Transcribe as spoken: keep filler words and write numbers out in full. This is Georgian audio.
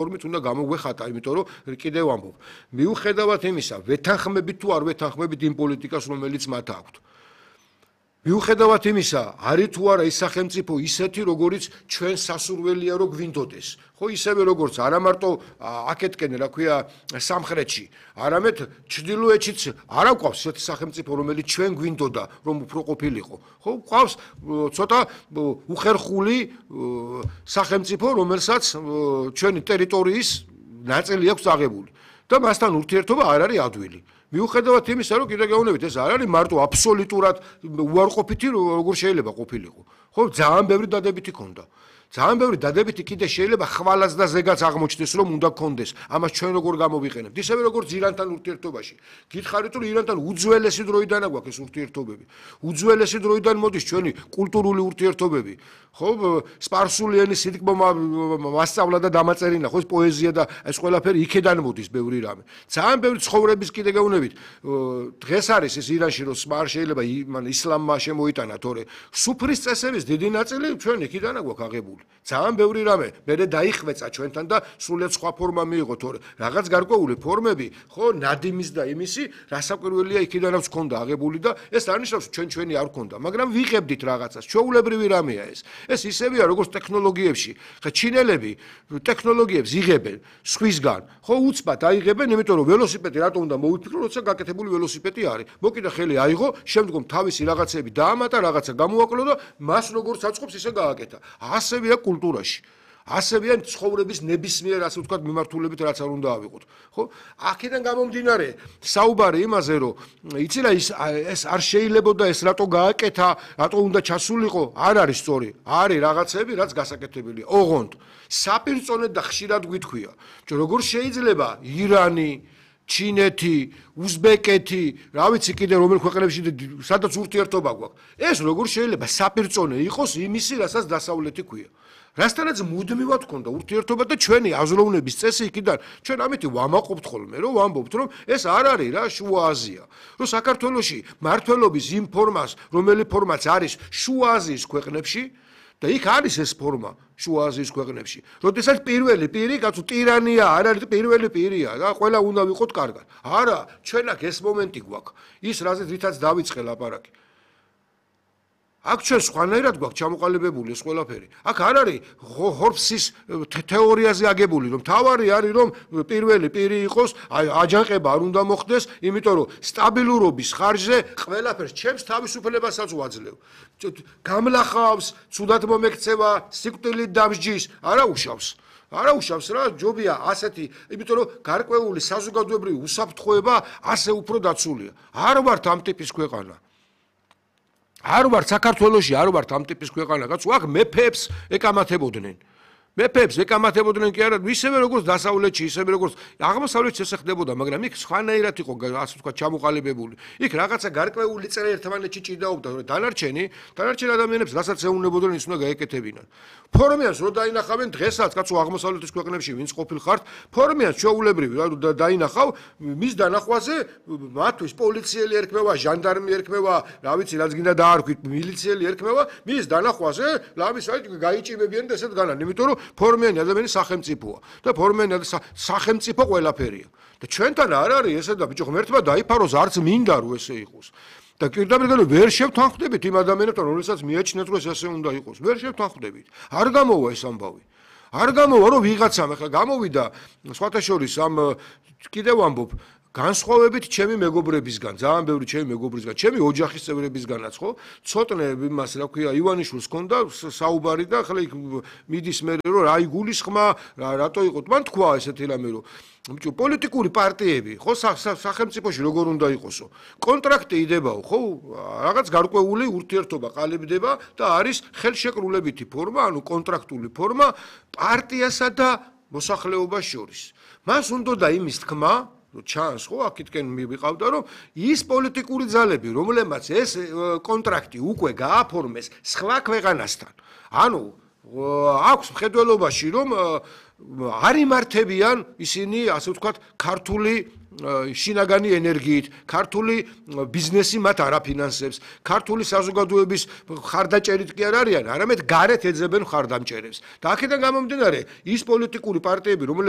ფორმით უნდა გამოგვეხატა, იმიტომ რომ კიდევ ვამბობ, მიუხედავად იმისა, ვეთანხმებით თუ არ ვეთანხმებით იმ პოლიტიკას, რომელიც მათ აქვთ. მიუხედავად იმისა, არის თუ არა ის სახელმწიფო ისეთი, როგორიც ჩვენ სასურველია რომ გვინდოდეს. ხო, ისევე როგორც არა მარტო აქეთკენ, რა ქვია, სამხრეთში, არამედ ჩრდილოეთშიც არ აქვს ისეთი სახელმწიფო, რომელიც ჩვენ გვინდოდა, რომ უფრო ყოფილიყო. ხო, გვყავს ცოტა უხერხული სახელმწიფო, რომელსაც ჩვენი ტერიტორიის ნაწილი აქვს აღებული და მასთან ურთიერთობა არ არის ადვილი. მიუხედავად იმისა, რომ კიდე გეუბნებით, ეს არ არის მარტო აბსოლუტურად უარყოფითი, როგორ შეიძლება ყოფილიყო. ხო, ძალიან ბევრი დადებითი ქონდა. ძალიან ბევრი დადებითი კიდე შეიძლება ხვალაც და ზეგაც აღმოჩნდეს, რომ უნდა გქონდეს. ამას ჩვენ როგორ გამოვიყენებთ? ისევე როგორც ირანთან ურთიერთობაში. გითხარით, რომ ირანთან უძველესი დროიდან აქვს ეს ურთიერთობები. უძველესი დროიდან მოდის ჩვენი კულტურული ურთიერთობები. ხო, სპარსული ენის სიტკბო მასწავლა და დამაწერინა, ხო, პოეზია და ეს ყველაფერი იქედან მოდის ბევრი რამე. ძალიან ბევრი ცხოვრების კიდე გეუბნებით. დღეს არის ეს ირანში, რომ არ შეიძლება ისლამმა შემოიტანა, თორე სუფრის წესების დიდი ნაწილი ჩვენ იქიდან აქვს აღებული. ძალიან ბევრი რამე მერე დაიხვეწა ჩვენთან და სრულიად სხვა ფორმა მიიღო, თორე რაღაც გარკვეული ფორმები, ხო, ნადიმის და იმისი, რასაკვირველია იქიდანაც ქონდა აღებული და ეს არ ნიშნავს ჩვენ ჩვენი არ ქონდა, მაგრამ ვიღებდით რაღაცას, ჩვეულებრივი რამეა ეს. ეს ისევია როგორც ტექნოლოგიებში. ხა ჩინელები ტექნოლოგიებს იღებენ სხვისგან, ხო, უცბად აიღებენ, იმიტომ რომ ველოსიპედი რატო უნდა მოვიფიქრო, როცა გაკეთებული ველოსიპედი არის. მოკიდა ხელი აიღო, შემდგომ თავისი რაღაცები დაამატა, რაღაცა გამოაკლო და მას როგორც აწყობს, ისე გააკეთა. ასევია კულტურაში. ასევია ცხოვრების ნებისმიერ, ასე ვთქვათ, მიმართულებით, რაც არ უნდა ავიღოთ. ხო? აქედან გამომდინარე, საუბარი იმაზე, რომ იცი რა, ეს არ შეიძლებოდა ეს რატო გააკეთა, რატო უნდა ჩასულიყო, არ არის სწორი. არის რაღაცები, რაც გასაკეთებელია. ოღონდ საპირწონედ და ხშირად გვითქვია, რომ როგორ შეიძლება ირანი, ჩინეთი, უზბეკეთი, რა ვიცი კიდე რომელ ქვეყნებში სადაც ურთიერთობა გვაქვს. ეს როგორ შეიძლება საპირწონე იყოს იმისი, რასაც დასავლეთი ქვია. რასთანაც მუდმივად ქონდა ურთიერთობა და ჩვენი აზროვნების წესი იქიდან ჩვენ ამით ვამაყობთ ხოლმე, რომ ვამბობთ, რომ ეს არ არის რა შუა აზია. რომ საქართველოში მართლობის იმ ფორმას, რომელი ფორმაც არის შუა აზიის ქვეყნებში და იქ არის ეს ფორმა შუა აზიის ქვეყნებში. როდესაც პირველი პირი, კაცო, ტირანია არ არის პირველი პირია და ყველა უნდა ვიყოთ კარგად. არა, ჩვენ აქ ეს მომენტი გვაქვს. ის რაზეც რითაც დავიწყე ლაპარაკი. აქ ჩვენ სხვანაირად გვაქვს ჩამოყალიბებული ეს ყველაფერი. აქ არ არის ჰორფსის თეორიაზე აგებული, რომ თავარი არის, რომ პირველი პირი იყოს, აჯანყება არ უნდა მოხდეს, იმიტომ რომ სტაბილურობის ხარჯზე ყველაფერს ჩემს თავისუფლებასაც ვაძლევ. გამლახავს, ცუდად მომექცევა, სიკვდილით დამსჯის, არა უშავს. არა უშავს რა, ჯობია ასეთი, იმიტომ რომ გარკვეული საზოგადოებრივი უსაფრთხოება ასე უფრო დაცულია. არ ვართ ამ ტიპის ქვეყანა. არ ვართ საქართველოში, არ ვართ ამ ტიპის ქვეყანა, კაცო, აქ მეფეებს ეკამათებოდნენ. მეფეებს ეკამათებოდნენ კი არა, ისევე როგორც დასავლეთში, ისევე როგორც აღმოსავლეთში ესე ხდებოდა, მაგრამ იქ სხვანაირად იყო, ასე ვთქვათ, ჩამოყალიბებული. იქ რაღაცა გარკვეული წრე ერთმანეთში ჭიდაობდა, დანარჩენი, დანარჩენ ადამიანებს რასაც ეუნებოდნენ, ის უნდა გაეკეთებინან. ფორმიანს რო დაინახავენ დღესაც, კაცო, აღმოსავლეთის ქვეყნებში ვინც ყოფილხართ, ფორმიანს ჩვეულებრივი რა დაინახავ, მის დანახვაზე მათთვის პოლიციელი ერქმევა, ჟანდარმი ერქმევა, რა ვიცი, რაც გინდა დაარქვით, მილიციელი ერქმევა, მის დანახვაზე, ლამის აი გაიჭიმებიან და ესეთ განან, იმიტომ რომ ფორმიანი ადამიანი სახელმწიფოა და ფორმიანი სახელმწიფო ყველაფერია. და ჩვენთან არ არის ესე და ბიჭო, ღმერთმა დაიფაროს, არც მინდა რომ ესე იყოს. და პირდაპირ ვერ შევთანხმდებით იმ ადამიანებთან, რომელსაც მიაჩნიათ, რომ ეს ასე უნდა იყოს. ვერ შევთანხმდებით. არ გამოვა ეს ამბავი. არ გამოვა, რომ ვიღაცამ ახლა გამოვიდა სხვათა შორის ამ კიდევ ვამბობ განსხვავებით ჩემი მეგობრებისგან, ძალიან ბევრი ჩემი მეგობრისგან, ჩემი ოჯახის წევრებისგანაც, ხო? ცოტნე იმას, რა ქვია, ივანიშვილს ჰქონდა საუბარი და ახლა იქ მიდის მე რომ რა იგულისხმა, რატო იყო? მან თქვა ესეთი რამე, რომ ბიჭო, პოლიტიკური პარტიები, ხო, სახელმწიფოში როგორ უნდა იყოსო? კონტრაქტი იდებაო, ხო? რაღაც გარკვეული ურთიერთობა ყალიბდება და არის ხელშეკრულებითი ფორმა, ანუ კონტრაქტული ფორმა პარტიასა და მოსახლეობას შორის. მას უნდა იმის თქმა ჩანს, ხო, აქეთკენ მივიყავდა, რომ ის პოლიტიკური ძალები, რომლებმაც ეს კონტრაქტი უკვე გააფორმეს სხვა ქვეყანასთან, ანუ აქვს მხედველობაში, რომ არ იმართებიან ისინი, ასე ვთქვათ, ქართული შინაგანი ენერგიით, ქართული ბიზნესი მათ არაფინანსებს, ქართული საზოგადოების ხარდაჭერით კი არ არიან, არამედ გარეთ ეძებენ ხარდამჭერებს. და აქედან გამომდინარე, ის პოლიტიკური პარტიები, რომლებიც